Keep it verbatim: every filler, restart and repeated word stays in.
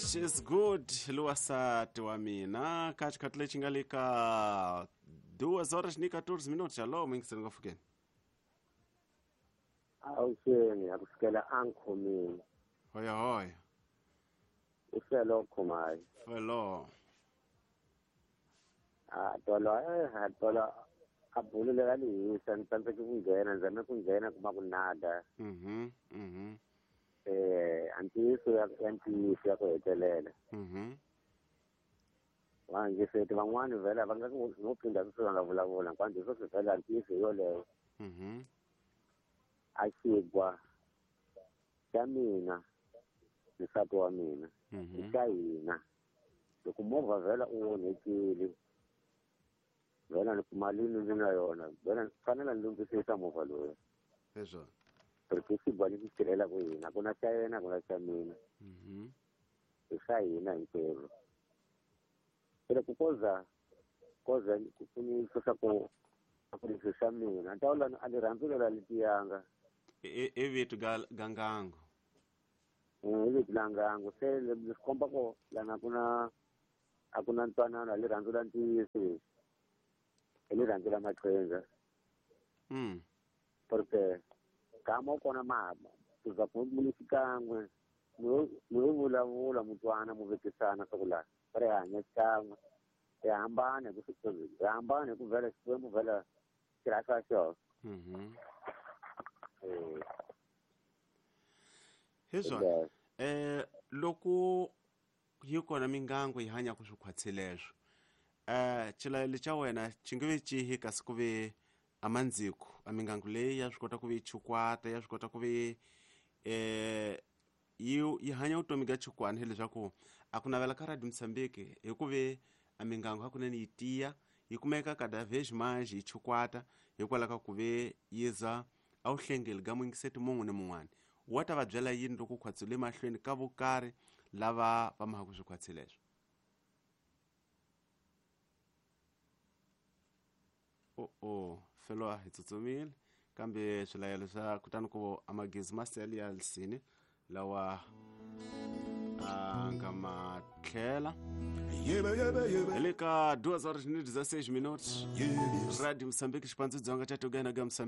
She's good luwasati wa mina ka xikhathi lexi nga le ka duas horas ni quatorze minutos. Alô, mingiseni ngafukeni. Awuxeni a kusukela a nkhomini. Hoya hoya. U felo khomayi. Felo. A tolo eh tolo a bulu leri a ni hisa ni tsandzeke ku nghena ni zame ku nghena kuma ku nada. Mhm mhm. Eh a ntiyiso ya ya ntiyiso ya ku hetelela. Mhm. Va ngiseti van'wani vhela va nga ku no phinda sweswi va nga vulavula hinkwato swo swi vhela ntiyiso hi yoleyo. Mhm. A xigwa xa mina ni nsati wa mina i xa hina loko movha vhela u onhekile vhela ni mali ni na yona vhela ni fanele ni lunghisisa movha loyi Hezwo. Porque i xigwa lexi tirhelaka hina ku na xa yena ku na xa mina. Mhm. I xa hina hinkwerhu se loko koza koza ku ni swa ku ku leswi swa mina ni ta vula a ni rhandzi lela letiyanga I i vito ga gangango. I vito la ngango se leswi komba ku lana ku na a ku na ntwanano a rirhandzu ra ntiyiso leswi i rirhandzu ra maqhinga. Mm. Porque gama u kona mama ku za ku mi xikan'we mi yo vulavula mutwana mu vekisana swa ku laha va ri hanya xikan'we hi hambana hi ku hi hambana hi ku vhela Xikwembu vhela xi rhasa xona. Mhm. Eh. Hezwo. Eh loko yi kona mingango yi hanya ku swikhwatsi leswo. Eh xilayelo xa wena xi nge ve cihi kasi ku ve amandziko a mingango leyi ya swi kota ku ve chukwata ya swi kota ku ve eh yi yi hanya vutomi bya chukwana hileswaku a ku navela ka Radio Mozambique hi ku ve a mingango hakunene yi tiya yi kumeka cada vez mais yi chukwata hikwalaho ka ku ve yi za a wu hlengeli ga muyingiseti mun'we ni mun'wana wa ta va byela yini loko khwatsi le mahlweni ka vokarhi lava va mahaka swikhwatsi leswo. O o felo hi tsutsumile kambe swilayelo swa kutani ku amagezi ma sele ya lisini lawa a nga ma tlhela hi le ka duas horas ni dezesseis minutos. Radio Moçambique xipandzu dzonga xa Tugana ga Moçambique.